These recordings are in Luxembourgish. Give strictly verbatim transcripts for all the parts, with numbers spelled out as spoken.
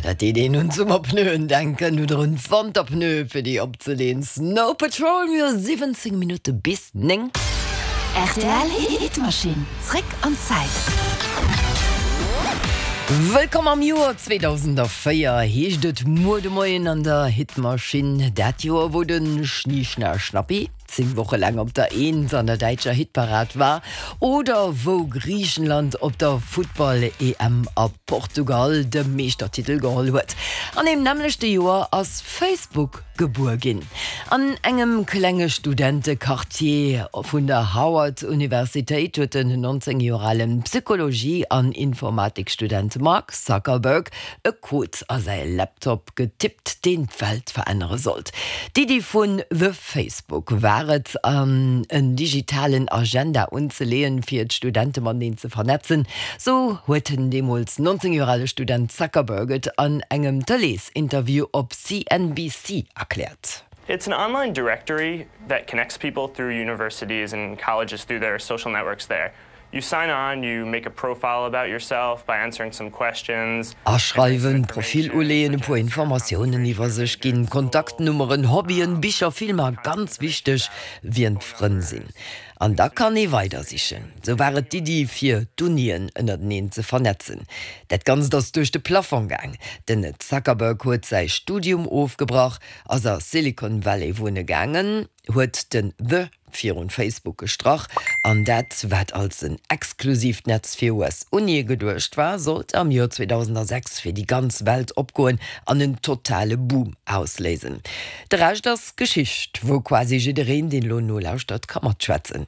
Dat deet een un Summerpneuen denken oder un Wanterpneue fir déi opzeleeën. Snow Patrol, mir hu siwwenzéng Minutte bis néng. Rtl Hitmaschinn, zréck an d'Zäit. Wëllkomm am Joer zweedausendvéier heescht et muer de Moien an der Hitmaschinn. Dat Joer wou de Schni Schna Schnappi zéng Woche laang op der Eent an der däitscher Hitparad war oder wou Griichenland op der Futtball-E M a Portugal de Meeschtertitel geholl huet. An deem nämmlechte Joer ass Facebook gebuer ginn. An engem klenge Studentequartier vun der Howard Universitéit huet den nonzéng Joer alen Psychologie an Informatikstudent Mark Zuckerberg e Code a säi Laptop getippt, deen d'Welt verännere sollt. D'Iddi vun The Facebook war et, en digitalen Agenda unzeleeën, fir d'Studente mateneen ze vernetzen. Sou huet den deemools nonzéng Joer ale Student Zuckerberg et an engem Tëleesinterview op C N B C erkläert. It's an online directory that connects people through universities and colleges through their social networks there. You sign on, you make a profile about yourself by answering some questions. Aschreiwen, Profil uleeën, e puer Informatiounen iwwer sech ginn, Kontaktnummeren, Hobbyen, Bicher, Filmer, ganz wichteg, wien d'Frënn sinn. An da kann ee weidersichen. Sou war et d'Iddi, fir d'Unien ënnerteneen ze vernetzen. Dat Ganzt ass duerch de Plafong gaang. Den Zuckerberg huet säi Studium ofgebrach, ass a Silicon Valley wunne gaangen, huet den The virun Facebook gestrach an dat, wat als en exklusiivt Netz fir U S-Unie geduecht war, sollt am Joer zweedausendsechs fir déi ganz Welt opgoen an en totale Boom ausléisen. De Rescht ass Geschicht, wou quasi jiddereen, deen elo nolauschtert, ka matschwätzen.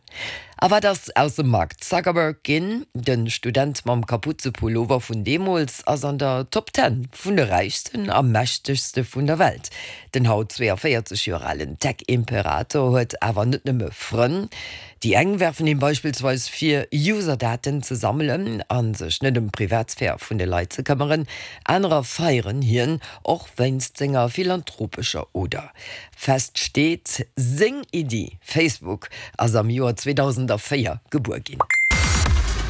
A wat ass aus dem Mark Zuckerberg ginn? De Student mam Kaputzepullover vun deemools ass an der Top Ten vun de räichsten a mächtegste vun der Welt. Den haut zweeënvéierzeg Joer alen Tech-Imperator huet awer net nëmme Frënn. Déi eng werfen him beispillsweis vir, User-Daten ze sammelen a sech net ëm d'Privatsphär vun de Leit ze këmmeren. Anerer feieren hien, och wéinst senger philanthropescher Oder. Fest steet, Seng Iddi, Facebook, ass am Joer zweedausendvéier gebuer ginn.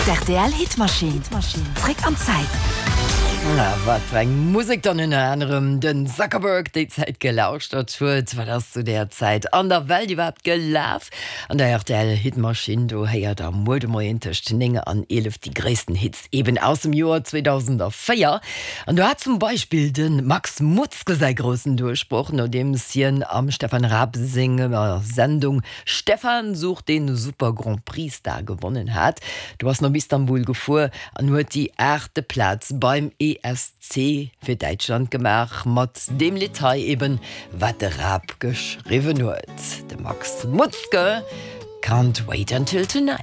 D' R T L Hitmaschinn, zréck an d'Zäit. Na, wat fir eng Musek dann ënner anerem den Zuckerberg déi Zäit gelauschtert huet, wat ass zu där Zäit an der Welt iwwerhaapt gelaf? An der R T L Hitmaschinn, do héiert der muer de Moien tëscht néng an eelef déi gréissten Hits eben aus dem Joer zweedausendvéier. An do hat zum Beispill de Max Mutzke säi groussen Duerchbroch, nodeems hien am Stefan Raab senger Sendung Stefan sucht den Super Grand Prix Star gewonnen hat. Do ass en op Istanbul gefuer an huet déi aachte Plaz beim E S C fir Däitschland gemaach, mat deem Lidd hei eben, wat de Raab geschriwwen huet. De Max Mutzke, Can't Wait Until Tonight.